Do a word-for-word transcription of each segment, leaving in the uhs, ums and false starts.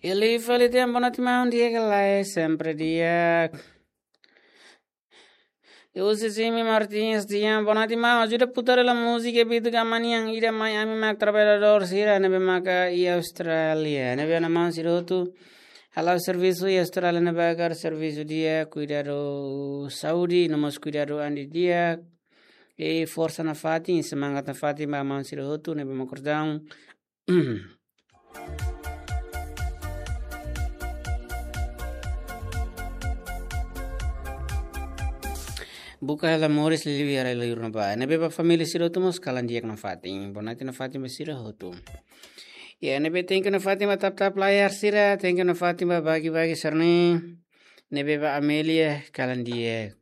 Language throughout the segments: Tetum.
Liu fali tiha, boa noite maun, di'ak ka lae? Sempre di'ak. Husi Jimmy Martins tiha, boa noite maun, ajuda putar hela múzika Bitu Gamanian ida, mai ami mak traballadór sira ne'ebé maka iha Austrália. Ne'ebé ona maun sira hotu hala'o servisu iha Austrália ne'ebá, hakarak servisu di'ak, kuidadu saúde, no mós kuidadu an didi'ak. I forsa nafatin, semangat nafatin ba maun sira hotu ne'ebé mak kordang. Buka hela moris liuliu iha rai-li'ur ne'ebá. Ne'ebé ba família sira hotu mós kalan di'ak nafatin. Boa noite nafatin ba sira hotu. Ya, ne'ebé thank you nafatin ba tap-tap layar sira, thank you nafatin ba bagi-bagi sira-ne'e. Ne'ebé ba Amelia, kalan di'ak.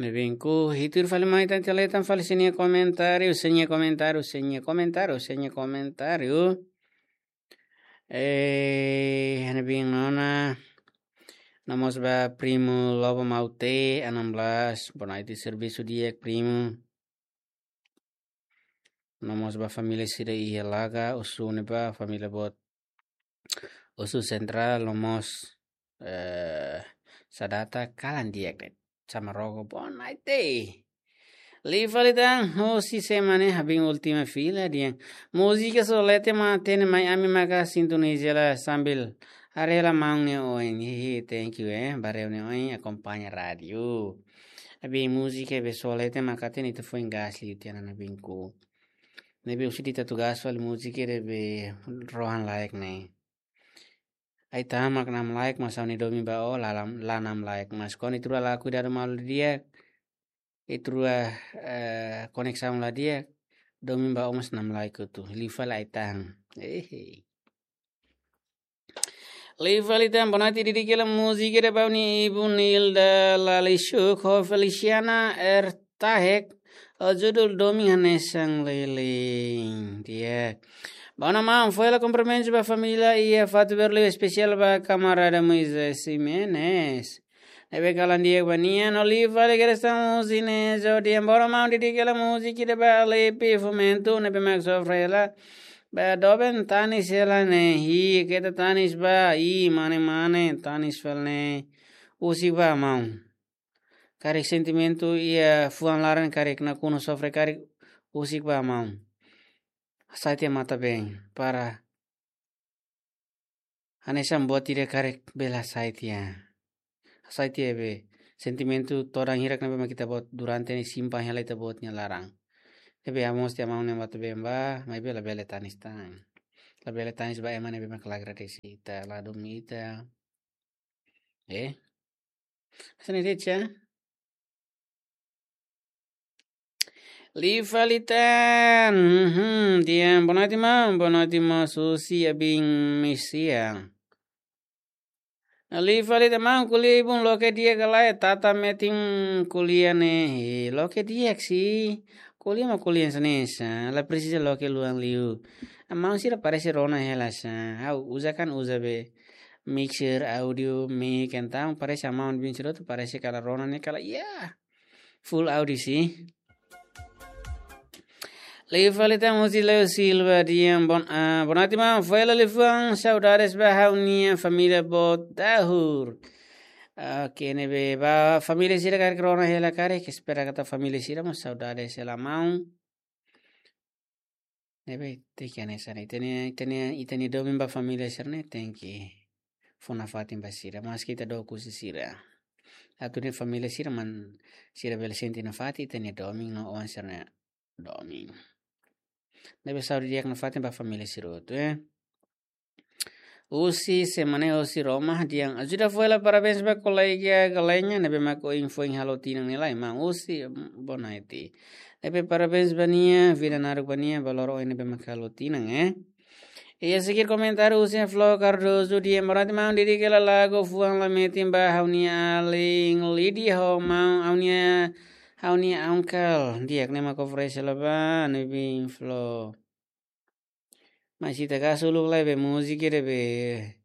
Ne'ebé ku hitur fali mai tan, tela tan fali sira-nia komentáriu, sira-nia komentáriu, sira-nia komentáriu, sira-nia komentáriu. Eh, ne'ebé ona, no mós ba primu Lobo Maute, enam belas, boa noite, servisu di'ak primu. No mós ba família sira iha Laga, husu ne'ebá, família boot husu Sentrál, no mós, eh, Sadata, kalan di'ak de'it. Sama Rogo, boa noite. Liu fali tan, husi Semane, Habin Última Fila, dehan múzika Solete mak hatene mai ami maka sintoniza hela sambil haree hela maun nia oin. Hihi, thank you, eh, ba haree nia oin, akompaña rádiu. Ne'ebé múzika be Solete mak hatene ita foin gas liu tiha ona, ne'ebé ku. Ne'ebé husi ita atu gas fali múzika ne'ebé rohan-laek ne'e. Ai-tahan mak namlaek, mas ha'u-nia domin ba ó la lam-, la namlaek. Mas kuandu ita rua la kuidadu malu di'ak, ita rua, eh, koneksaun la di'ak, domin ba ó mós namlaek hotu. Liu fali ai-tahan. Ehe. Liu fali tan, boa noite, didik hela múzika ida ba ha'u-nia ibun Nilda Lalisuk ho Feliciana Ertahek, ho judul Domin Hanesan Leleng. Di'ak. Ba ona maun, fó hela kumprimentus ba família iha Fatuberlu, espesiál ba kamarada Moisés Ximenes. Ne'ebé kalan di'ak ba nia, no liu fali Gerson Zinés, dehan ba ona maun, didik hela múzika ida ba Alepe Fomento, ne'ebé mak sofre hela ba doben tanis hela ne'e, hi, keta tanis ba, i, mane-mane, tanis fali ne'e husik ba maun. Karik sentimentu iha fuan laran karik nakonu sofre karik husik ba maun. Hasai tiha matan-been, para hanesan buat ida karik bele hasai tiha. Hasai tiha be sentimentu todan hirak ne'ebé mak ita-boot durante ne'e simpan hela ita-boot nia laran. Ne'ebé ha'u mós tiha maun ne'e matan-been ba, maibé labele tanis tan. Labele tanis ba ema ne'ebé mak la agradese ita, la duni ita. Eh? Hanesan ne'e de'it, ya? Liu fali tan. Mhm, dehan boa noite maun, boa noite maun Susi, Abin Misia. Liu fali tan maun, ko'alia ibun loke di'ak ka lae, tata metin ko'alia ne'e. He, loke di'ak sih. Ko'alia mak ko'alia hanesan ne'e, la presiza loke luan liu. Maun sira parese rona hela sá. Ha'u uza kan uza be mixer, audio, mic, entaun parese maun bin sira hotu parese kala rona ne'e kala, ya. Full audio sih. Liu fali tan husi Leo Silva dehan bon, ah, boa noite maun, fó hela liafuan saudades ba ha'u-nia família boot dahur. Oke, ne'ebé ba família sira karik rona hela karik, espera katak família sira mós saudades hela maun. Ne'ebé tenke hanesan ne'e, ita-nia, ita-nia, ita-nia domin ba família sira-ne'e tenke fó nafatin ba sira, maski ita dook husi sira. Atu nune'e família sira mak sira bele sente nafatin ita-nia domin no oan sira-nia domin. Ne'ebé saúde di'ak nafatin ba família sira hotu, eh. Husi Semane, husi Roma, dehan ajuda fó hela parabéns ba kolega Galenya, ne'ebé mak ohin foin halo tinan nia lai, maun husi, mm, boa noite. Ne'ebé parabéns ba nia, vida naruk ba nia, ba loron ohin ne'ebé mak halo tinan, eh. Iha seguir komentáriu husi Flo Cardoso dehan boa noite maun, didik hela lagu fuan la metin ba ha'u-nia alin Lidi ho maun, ha'u-nia, ha'u-nia uncle. Di'ak, ne'e mak oferese hela ba, ne'ebé Flo. Mas ita karik uluk lai be múzika ida be,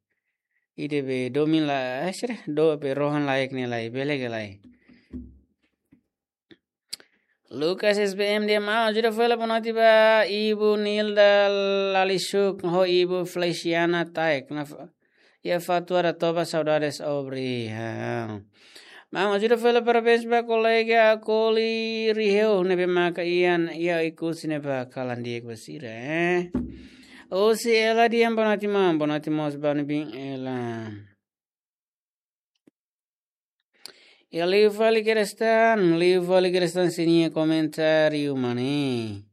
ida be domin la, eh, sira, do be rohan-laek ne'e lai, bele ka lae. Lucas S B M dehan: Maun, ajuda fali hela boa noite ba Ibu Nilda Lalisuk ho Ibu Feliciana Taek. Na fa-, iha Fatuaratoba, saudades, obrigadu. Maun, ajuda fali hela parabéns ba kolega Akoli Riheu ne'ebé maka iha, iha Oekusi ne'ebá, kalan di'ak ba sira, eh. Osi Ela dehan: Boa noite, maun. Boa noite mós ba ne'ebé, Ela. Iha liu fali Kerestan, liu fali Kerestan sira-nia komentáriu, maun.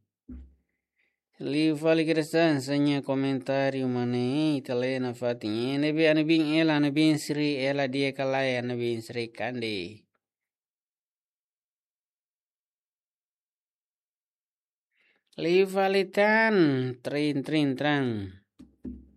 Liu fali Kerestan sira-nia komentáriu, maun. Ita lee nafatin. Ne'ebé, ne'ebé Ela, ne'ebé Sri Ela, di'ak ka lae, ne'ebé Sri Kandi. Liu fali tan, trin, trin, tran.